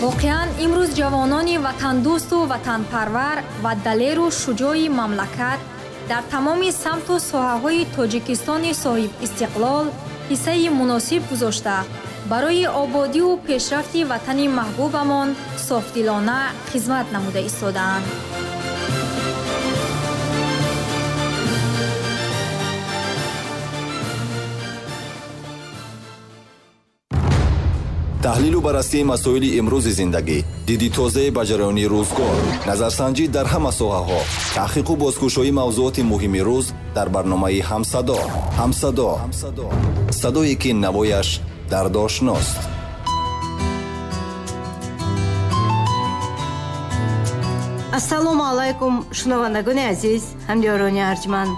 Воқеан, имрӯз ҷавонони ватандӯсту ватанпарвар ва далеру шуҷои мамлакат дар тамоми самту соҳаҳои Тоҷикистони соҳибистиқлол ҳиссаи муносиб гузошта, барои ободиву пешрафти ватани маҳбубамон софдилона хизмат намуда истодаанд. Таҳлилу баррасии масоили имрӯзи зиндагӣ, диди тозае ба ҷараёни рӯзгор, назарсанҷӣ дар ҳама соҳаҳо, таҳқиқу бозкушоии мавзуоти муҳими рӯз дар барномаи «Ҳамсадо». «Ҳамсадо» — садое, ки навояш дардошност. Ассалому алайкум, шунавандагони азиз, ҳамдиёрони арҷманд.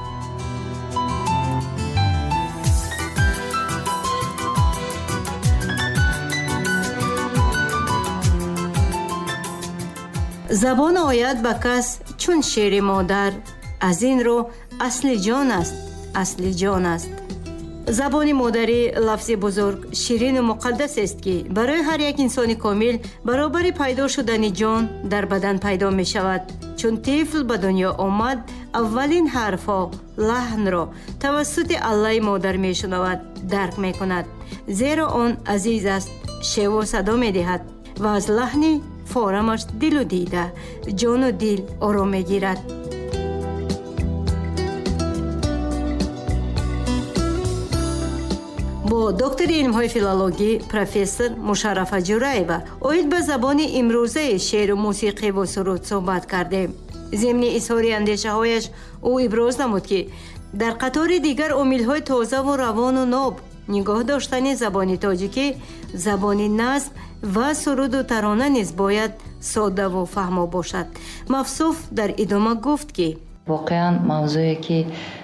Забон ояд ба кас чун шери модар, аз ин рӯ асли ҷон аст, асли ҷон аст. Забони модарӣ лафзи бузург, ширину муқаддасест, ки барои ҳар як инсони комил баробари пайдо шудани ҷон дар бадан пайдо мешавад. Чун тифл ба дунё омад, аввалин ҳарфҳо, лаҳнро тавассути аллаи модар мешунавад, дарк мекунад, зеро он азиз аст, шеву садо медиҳад ва аз лаҳни форамаш дилу дида, ҷону дил ором мегирад. Бо доктори илмҳои филологӣ, профессор Мушаррафа Ҷураева оид ба забони имрӯзаи шеъру мусиқиву суруд суҳбат кардем. Зимни изҳори андешаҳояш ӯ иброз намуд, ки дар қатори дигар омилҳои тозаву равону ноб нигоҳ доштани забони тоҷикӣ, забони назм ва суруду тарона низ бояд соддаву фаҳмо бошад. Мавсуф дар идома гуфт, ки воқеан, мавзӯе, ки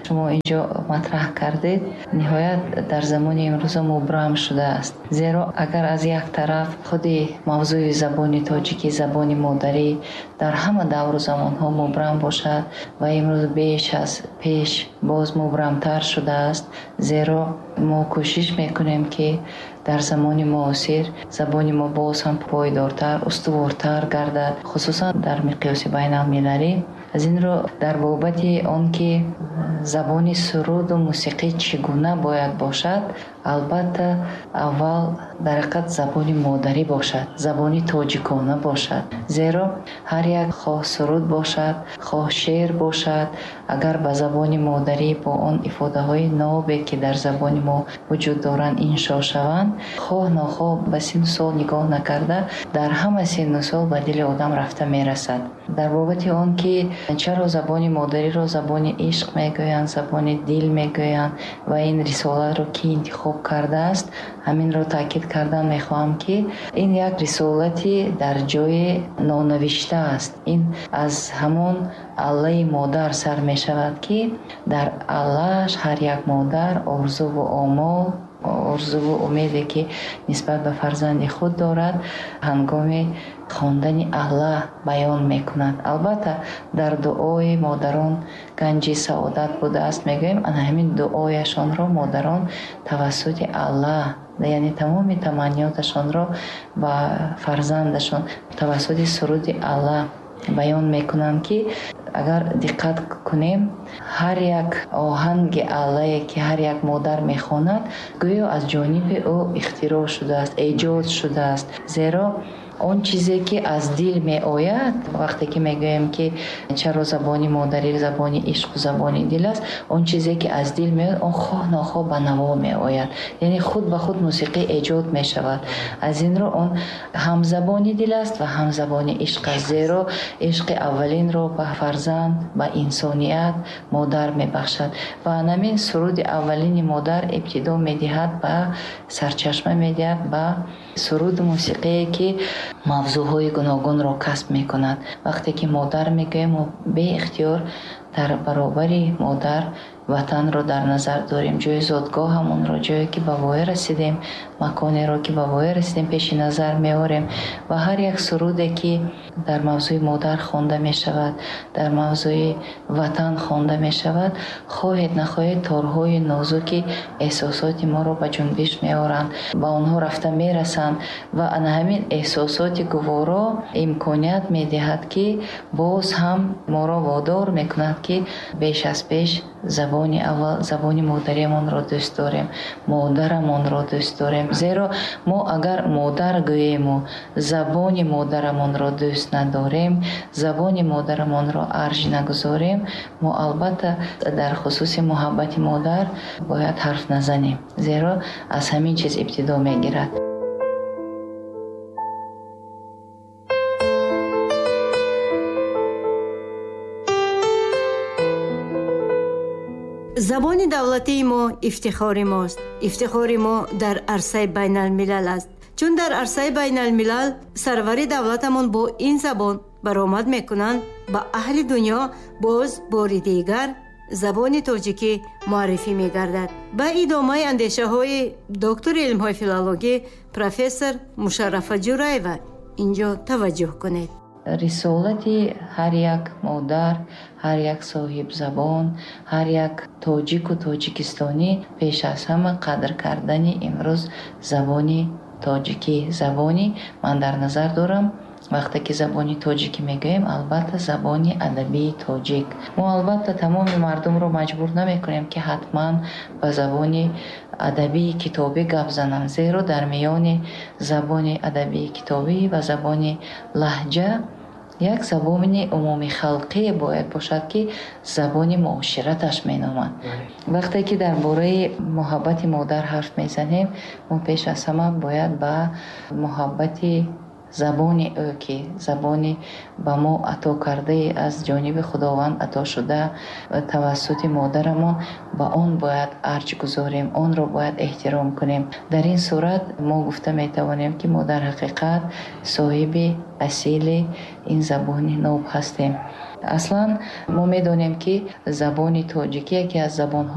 шумо инҷо матраҳ кардед, ниҳоят дар замони имрӯза мубрам шудааст, зеро агар аз як тараф худи мавзӯи забони тоҷикӣ, забони модарӣ дар ҳама давру замонҳо мубрам бошад ва имрӯз беш аз пеш боз мубрамтар шудааст, зеро мо кӯшиш мекунем, ки дар замони муосир забони мо боз ҳам пойдортар, устувортар гардад, хусусан дар миқёси байналмилалӣ. Аз ин рӯ, дар бобати он ки забони суруду мусиқӣ чӣ гуна бояд бошад, албатта, аввал дар ҳақиқат забони модарӣ бошад, забони тоҷикона бошад, зеро ҳар як, хоҳ суруд бошад, хоҳ шеър бошад, агар ба забони модарӣ бо он ифодаҳои нобе, ки дар забони мо вуҷуд доранд, иншо шаванд, хоҳ нохоҳ, ба синну сол нигоҳ накарда, дар ҳама синну сол ба дили одам рафта мерасад. Дар бобати он ки чаро забони модариро забони ишқ мегӯянд, забони дил мегӯянд ва ин рисолатро кӣ интихоб кардааст, ҳаминро таъкид кардан мехоҳам, ки ин як рисолати дар ҷои нонавишта аст. Ин аз ҳамон аллаи модар сар мешавад, ки дар аллааш ҳар як модар орзуву омол, орзуву умеде, ки нисбат ба фарзанди худ дорад, ҳангоми хондани алла баён мекунад. Албатта, дар дуои модарон ганҷи саодат будааст, мегӯем. Ана ҳамин дуояшонро модарон тавассути алла, яъне тамоми таманниёташонро ба фарзандашон тавассути суруди алла баён мекунанд, ки агар диққат кунем, ҳар як оҳанги аллае, ки ҳар як модар мехонад, гӯё аз ҷониби ӯ ихтироъ шудааст, эҷод шудааст, зеро он чизе, ки аз дил меояд. Вақте ки мегӯем, ки чаро забони модарӣ забони ишқу забони дил аст, он чизе, ки аз дил меояд, он хоҳ нохоҳ ба наво меояд, яъне худ ба худ мусиқӣ эҷод мешавад. Аз ин рӯ, он ҳам забони дил аст ва ҳам забони ишқ аст, зеро ишқи аввалинро ба фарзанд, ба инсоният модар мебахшад ва анамин суруди аввалини модар ибтидо медиҳад, ба сарчашма медиҳад ба суруду мусиқие, ки мавзӯъҳои гуногунро касб мекунад. Вақте ки модар мегӯем, мо беихтиёр дар баробари модар Ватанро дар назар дорем, ҷои зодгоҳамонро, ҷое ки ба воя расидем, маконеро ки ба воя расидем, пеши назар меорем ва ҳар як суруде ки дар мавзӯи модар хонда мешавад, дар мавзӯи Ватан хонда мешавад, хоҳед нахоҳед, торҳои нозуки эҳсосоти моро ба ҷунбиш меоранд, ба онҳо рафта мерасанд ва ана ҳамин эҳсосоти гуворо имконият медиҳад, ки боз ҳам моро водор мекунад, ки беш аз пеш забони аввал, забони модариамонро дӯст дорем, модарамонро дӯст дорем. Зеро мо агар модар гӯему забони модарамонро дӯст надорем, забони модарамонро арҷ нагузорем, мо албатта дар хусуси муҳаббати модар бояд ҳарф назанем, зеро аз ҳамин чиз ибтидо мегирад. Забони давлатии мо ифтихори мост. Ифтихори мо дар арсаи байналмилал аст, чун дар арсаи байналмилал сарвари давлатамон бо ин забон баромад мекунанд, ба аҳли дунё боз бори дигар забони тоҷикӣ муаррифӣ мегардад. Ба идомаи андешаҳои доктори илмҳои филологӣ, профессор Мушаррафа Ҷураева инҷо таваҷҷӯҳ кунед. Рисолати ҳар як модар, ҳар як соҳибзабон, ҳар як тоҷику тоҷикистонӣ пеш аз ҳама қадр кардани имрӯз забони тоҷикӣ. Забони ман дар назар дорам, вақте ки забони тоҷикӣ мегӯем, албатта забони адабии тоҷик. Мо албатта тамоми мардумро маҷбур намекунем, ки ҳатман ба забони адабии китобӣ гап зананд, зеро дар миёни забони адабии китобӣ ва забони лаҳҷа як забони умумихалқие бояд бошад, ки забони муошираташ меноманд. Вақте ки дар бораи муҳаббати модар ҳарф мезанем, мо пеш аз ҳама бояд ба муҳаббати забони ӯ, ки забони ба мо ато кардаи аз ҷониби Худованд ато шуда тавассути модарамон, ба он бояд арҷ гузорем, онро бояд эҳтиром кунем. Дар ин сурат мо гуфта метавонем, ки мо дар ҳақиқат соҳиби асили ин забони ноб ҳастем. Аслан мо медонем, ки забони тоҷикӣ яке аз забонҳои